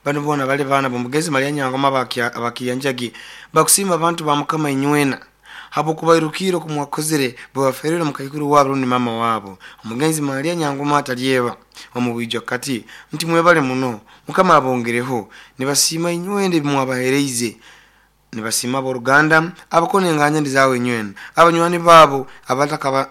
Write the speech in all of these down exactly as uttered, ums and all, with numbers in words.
Bano bona bali baana b'omugezi Maria Nyangoma abakiryanjagi bakusiima abantu ba Mukama inywena habwokubairukire okumwakozere bwebaferire mukaikuru wabo rundi mama wabo omugenzi Maria Nyangoma atalyeba omubwijwa kati nti mwebale muno Mukama abongereho nibasiima inywena ebimwabahereize nibasiima aboruganda abakona enganya ndizawe inywena abanywani babo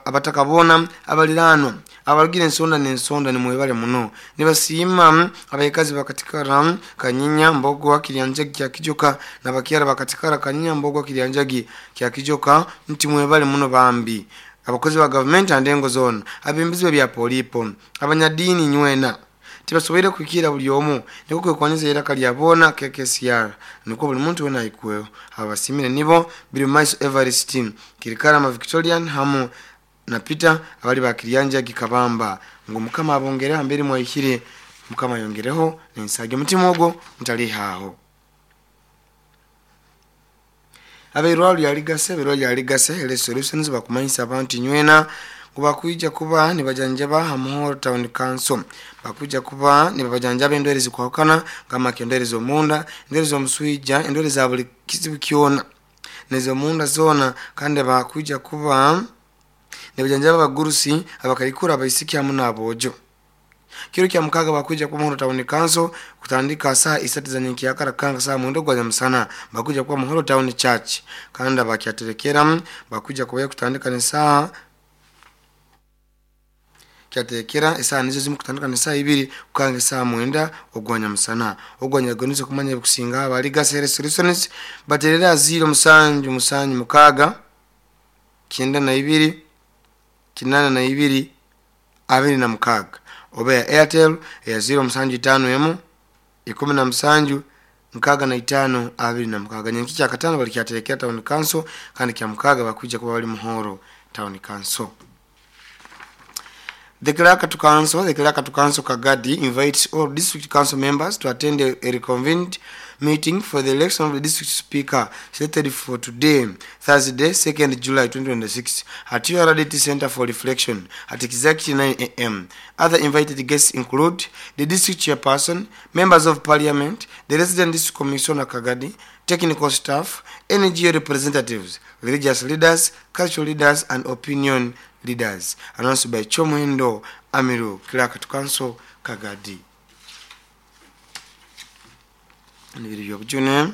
abatakabona abaliranwa abarugira ensonda n'ensonda nimwebale muno nibasiima abayikazi bakatikara Kanyinya Mbogwa Kiryanjagi kya Kijoka nabakyara bakatikara Kanyinya Mbogwa Kiryanjagi kya Kijoka nti mwebale muno bambi abakozi ba government andengo zone abimbizi bya polipo abanyadini nywena tibasoboire kuikira buli omu niko kwekwanyiza iraka lya bona K K C R niko buli muntu wena aikweho abasimire nibo biri maiso Everest Kirikara ma Victorian hamu na Peter abali bakiryanja gikabamba ngo Mukama abongere ambere mwayikire Mukama yongereho nensage mutima ogwo mutalihaho. Abeirwalo yaligase abeirwalo yaligase ele solutions bakumanyisa abantu nywena kubakuija kuba nibajanjaba Hamuhoro Town Council bakuja kuba nibajanjaba endwere zikwakana kama endwere z'omunda endwere z'omuswija endwere za buli kizibu kyona nez'omunda zona kandi bakuja kuba nibajanjaba abagurusi abakaikura abaisiki hamu n'abojo. Kiro kya mukaga bakuja kuba Muhoro Town Council kutandika saa isatu za nyenkiyakara kanga saa mwenda gwa musana bakuja kuba Muhoro Town Church kandi bakyaterekera bakuja kuba kutandika ni saa kyatekera esaa nizo zimu kutandika ni saa ibiri kukanga saa mwenda ogwanya musana ogwanya gonizo kumanya kusinga abaliga Health Solutions baterera ziro musanju musanju mukaga kyenda na ibiri kinana na ibiri abiri na mukaga oba ya Airtel ya ziro musanju itano emu ikumi na musanju mukaga na itano abiri na mukaga. Nyenki kya katano bali kyaterekera Town Council kandi kya mukaga bakuja kuba bali Muhoro Town Council. The Clerk to Council, the Clerk to Council Kagadi invites all district council members to attend a, a reconvened meeting for the election of the district speaker slated for today, Thursday, second July twenty twenty-six, at U R D T Center for Reflection at exactly nine A M. Other invited guests include the district chairperson, members of parliament, the resident district commissioner Kagadi, technical staff, N G O representatives, religious leaders, cultural leaders, and opinion leaders. Announced by Chomuhendo Amiru, Clerk to Council Kagadi. Nibiri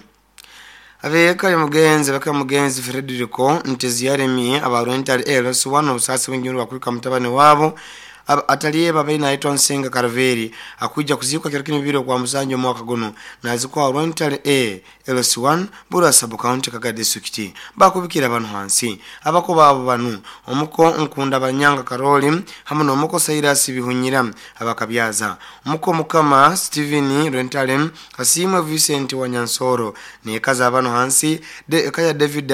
abeka mugenzi baka mugenzi Frederico Nteziyaremye abarwentari L S one obusasi bw'enjuru bakwika mutabani wabo ataliye babaina naitwa Nsenga Karaveri akuja kuzikwa kiro kino bibiri kwa musanju omwaka guno nazikwa rwentari A L S one Burasa County Kagadi District bakubikira abantu hansi abako babo banu omuko Nkunda Banyanga Karoli hamu n'omuko Cyrus Bihunyira abakabyaza omuko Mukama Steven Rwentale Kasimwe Vincent Wanyansoro nekaza abantu hansi de kaya David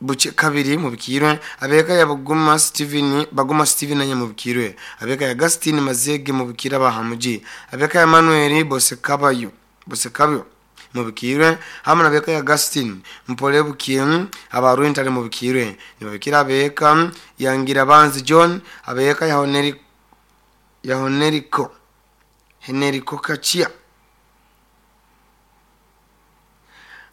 Buche kabiri mubikirwe abeka ya Baguma Steven Baguma Steven nanye mubikirwe abeka ya Agustin Mazege mubikira bahamuji abeka ya Manuel Bosekabayo Bosekabyo mubikirwe hamwe nabeka ya Agustin Mpolebukiye abarwentale mubikirwe nibabikira abeka yangira banzi John abeka ya Honeri ya Honeriko Henerico Kachia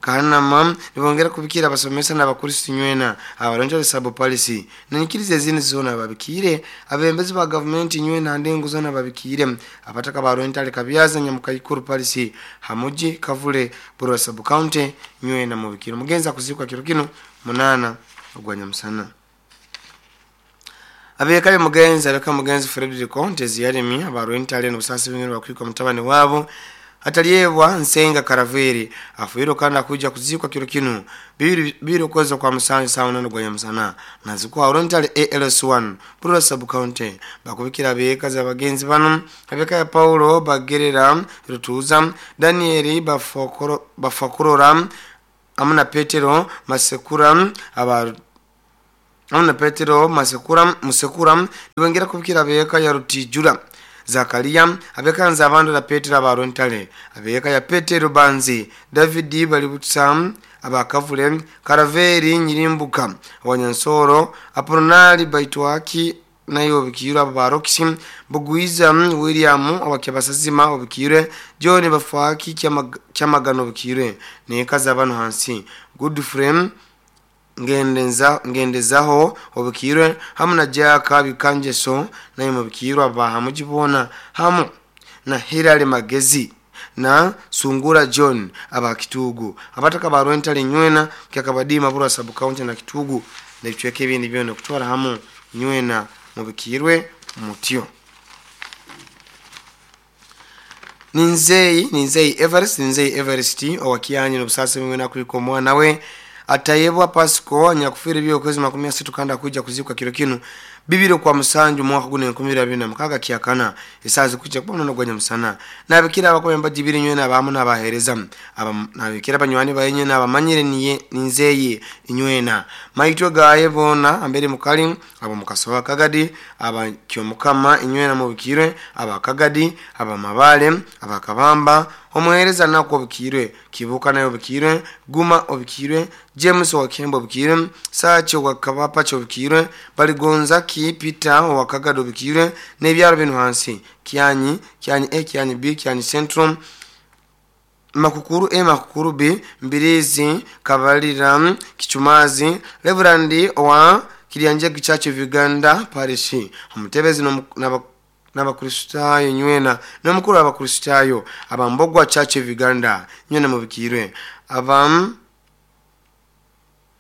Kanama nibongera kubikira abasomesa n'abakristo nywena abaronjo sabo policy nanyikirize zini zona babikire abembezi ba government nywena ndengo zona babikire abataka barwentale kabyaza nyamukaikuru policy hamuji kavule Burasa County nywena mubikire mugenza kuzikwa kiro kino munana ogwanya musana abeka mugenza abeka mugenzi Frederico Nteziyaremye abarwentale n'obusasi bw'ingiro bakwika mutabani wabo ataliyebwa Nsenga Karaveri afuiro kandi akuja kuzikwa kiro kino bibiri bibiri kweza kwa musanju sawa nano gwanya musana nazikwa rwentale A L S one Burasa County bakubikira abeka za bagenzi bano abeka ya Paulo Bagerera Rutuza Daniel Bafokoro Bafakurora amuna Petero Masekura aba amuna Petero Masekura Musekura nibongera kubikira abeka ya Rutijura Zakaria abeka nza la Petero abarontale abeka ya Petero Banzi David Balibutsa abakavule Karaveri Nyirimbuka Wanyansoro Apronali Baitwaki naye obikirwe abo ba Roxy Bugwiza William owakyabasazima obikirwe John Bafaki Kyamagano obikirwe nekaza abantu hansi Godfrey ngendenza ngendezaho obikirwe hamu na Jaka Bikanjeso naye mubikirwe abahamujibona hamu na Hilary Magezi na Sungura John abakitugu abataka barwentale nywena kyakabadima burwa sub county na Kitugu na bichweke ebindi byona kutwara hamu nywena mubikirwe mutyo. Ninzei Ninzei Everest Ninzei Everest owakianyi nobusase mwena kuliko mwana we atayebwa Pasco nyakufiri byo kwezi makumi asatu kanda kuja kuzikwa kiro kinu bibiro kwa musanju mwaka gune enkumi abiri na mukaga kiakana esazi kuja kubona no gwanya musana nabikira abakomba jibiri nywena abamu nabahereza nabikira banywani bayenye nabamanyire niye Ninzeye inywena maitwe gaye bona ambere mukali abo mukasowa Kagadi aba kyomukama inywena mubikirwe aba Kagadi aba Mabale aba Kabamba omuhereza nako obikirwe Kibuka nayo obikirwe Guma obikirwe James wa Kembo obikirwe Sacho wa Kabapa obikirwe Baligonza ki Peter wa Kagado obikirwe n'ebyaro bino hansi Kyanyi Kyanyi A Kyanyi B Kyanyi Central Makukuru A Makukuru B Mbirizi Kabalira Kichumazi Reverend wa Kilianjegi Church of Uganda Parish omutebezi no n'abakristayo nywena n'omukuru abakristayo abambogwa Church of Uganda nywena mubikirwe abam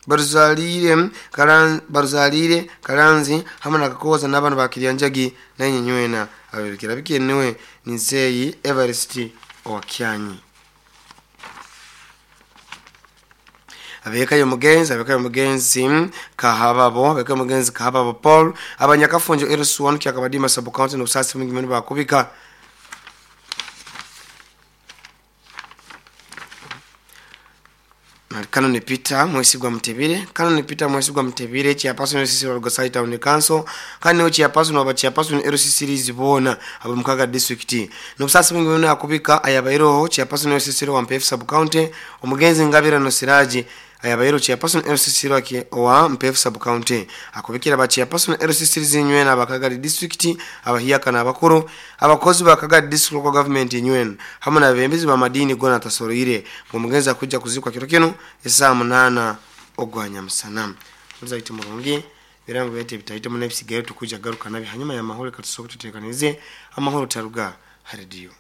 Barzalire Karan Barzalire Karanzi hamwe na Kakoza n'abantu ba Kilianjagi naye nywena abibikira bikenewe Ninzeyi Everest owakyanyi abeka yo mugenzi abeka yo mugenzi kahababo abeka mugenzi kahababo Paul abanyakafunjo L S one kyakabadima sub county no busasi mwingi mwe bakubika Kano ni Peter Mwesigwa Mtebire Kano ni Peter Mwesigwa Mtebire chairperson L C C wa Lugosai Town Council kani chairperson wa chairperson L C C Lizibona abo mukaga district no busasi mwingi mwe akubika ayabairo chairperson L C C wa Mpefu sub county omugenzi Ngabira no Siraji ayabairo chairperson L C C wa Mpefu sub county akubikira ba chairperson L C C zinywena abakaga district abahiyaka nabakuru abakozi bakaga district local government nywena hamwe nabembezi ba madini gona tasoroire ngo kuja kuzikwa kiro kino esaa munana ogwanya musana muzaite murungi birango bete bitaite mu nefisi tukuja garuka nabi hanyuma ya mahoro katusoko tutekanize amahoro taruga radio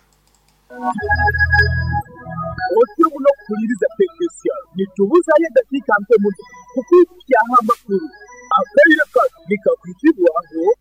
Otyo muno kuliriza tekinisiya nitubuzayo dakika mpe muno kukwikyaho amakuru akaire kano nikakwitibwaho.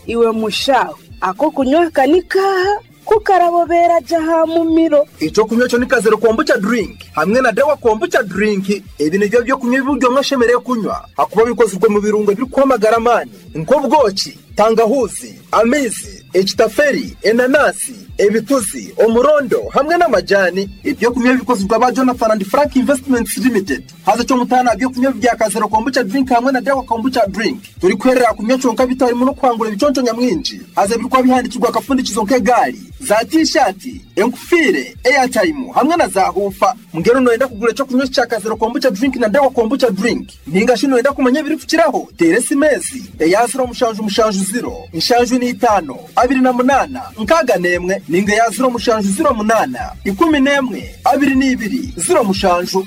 Iwe mushaho ako kunywa kanikaha kukarabobera jaha mumiro ico kunywa cyo nikazero kombucha drink hamwe na dawa kombucha drink. Ebi nivyo byo kunywa ibiryo mwashemereye kunywa hakuba bikozwe mu birungo biri kwamagara mani nko bwoki tangahuzi amizi ekitaferi enanasi ebituzi omurondo hamwe n'amajani. Ibyo kunywa bikozwe ba Jonathan and Frank Investments Limited haza cyo mutana byo kunywa bya kazero kombucha drink hamwe na dawa kombucha drink turi kwerera kunywa cyonka bitari mu no kwangura ibiconco nyamwinji haza birikwa bihandikirwa akafundikizo nk'egari za t-shirt enkufire airtime hamwe na za hufa. Mngero noenda kugura cyo kunywa cya kazero kombucha drink na dawa kombucha drink ninga shino enda kumenya biri kukiraho teresi mezi eyaziro mushanju mushanju zero inshanju ni itano abiri na munana nkaga nemwe ninga yaziro mushanju zero munana ikumi nemwe abiri n'ibiri zero mushanju.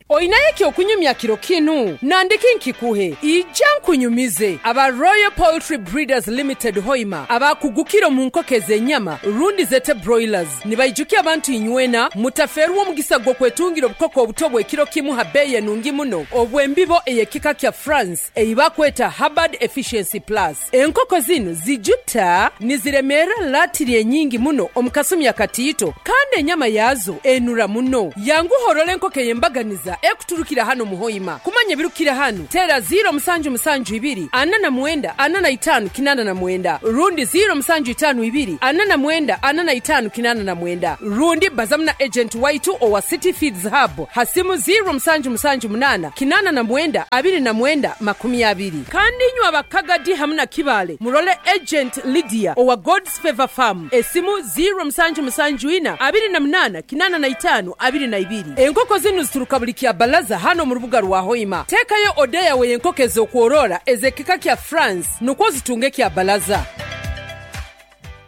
Oinaye okunyumya kiro kinu nandiki nkikuhe ija nkunyumize aba Royal Poultry Breeders Limited Hoima abakugukiro mu nkokeze enyama rundi zete broilers nibaijukia abantu inywena mutaferuwo omugisa gwo kwetungira obukoko obuto ekiro kimu habeye nungi muno obwembibo eyekika kya France eibakweta Hubbard Efficiency Plus. Enkoko zino zijuta niziremera latiri enyingi muno omukasumi akatiito kandi enyama yazo enura muno yanguhorole enkoko eyembaganiza ekuturukira hano muhoima kumanya birukira hano tera zero musanju musanju ibiri ana na mwenda ana na itanu kinana na mwenda rundi zero musanju itanu ibiri ana na mwenda ana na itanu kinana na mwenda rundi bazamna agent waitu owa City Feeds Hub hasimu zero musanju musanju munana kinana na mwenda abiri na mwenda makumi abiri. Kandi nywa abakagadi hamna kibale murole agent Lydia owa God's Favor Farm esimu zero musanju musanju ina abiri na munana kinana na itanu abiri na ibiri. Enkoko zinu zituruka buli kya Kyabalaza hano mu rubuga rwa Hoima. Teekayo oda yawe y'enkoko ez'okworora ez'ekika kya France nukwo zitunge Kyabalaza.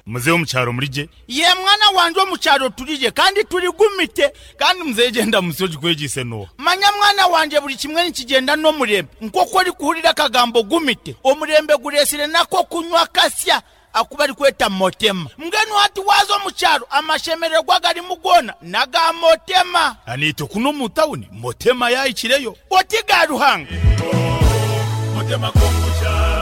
Muzehe, omukyaro murije? Ye mwana wanje, omukyaro turije kandi turigumite. Kandi muzehe, genda musoji kwegise no. Manya mwana wanje, buli kimwe nikigenda n'omurembe. Nk'oku ori kuhurira akagambo gumite, omurembe guresire nako kunywa kasya akuba ari kweta Motema. Mbwenu hati waza omukyaro, amashemererwa garimu gona naga Motema. Anito kuno mu tawuni Motema yayikireyo. Oti ga Ruhanga. Motema kombucha.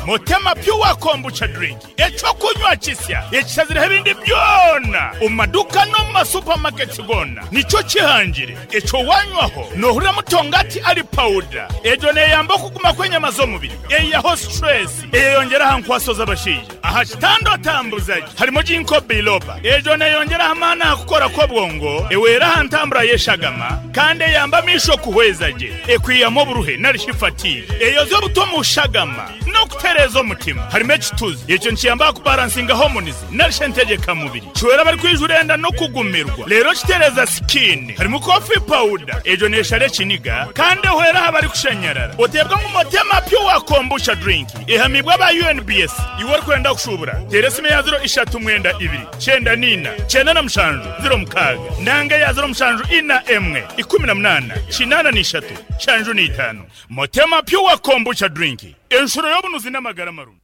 Motema Pure Kombucha Drink, ekyokunywa kisya ekishazireho ebindi byona omu maduka no mu masupamaketi gona. Nikyo kihangire ekyo wanywaho nohurira mutongati ari pawuda. Egyo neyamba okuguma kw'enyama z'omubiri, eyaho stress, eyeyongera aha nkwaso z'abashaija aha kitanda otambuzaje. Harimo ginkgo biloba, egyo neyongera amaani aha kukora kw'obwongo, ewera aha ntambura y'eshagama, kandi eyamba amisho kuhweza gye, ekwiyamu oburuhe narishi fatigue, eyoza obuto mu shagama n'okutereeza omutima. Harimo ekituzi, ekyo nikiyamba kubalansinga hormones narishi entegekamubiri, kiwera bari kwijura enda no kugumirwa, rero kitereza skin. Harimo coffee powder, egyo neshara ekiniga kandi ehwera aha bari kushanyarara. Otebwa ngu Motema Pure Kombucha Drink ehamibwa aba U N B S. Iwe orikwenda kushubura, tera esimu ya ziro ishatu mwenda ibiri cyenda nina cyenda na mushanju ziro mukaaga nanga ya ziro mushanju ina emwe ikumi na munana kinana n'ishatu shanju n'itanu. Motema Pure Kombucha Drink, enshuro y'obunuzi n'amagara marungi.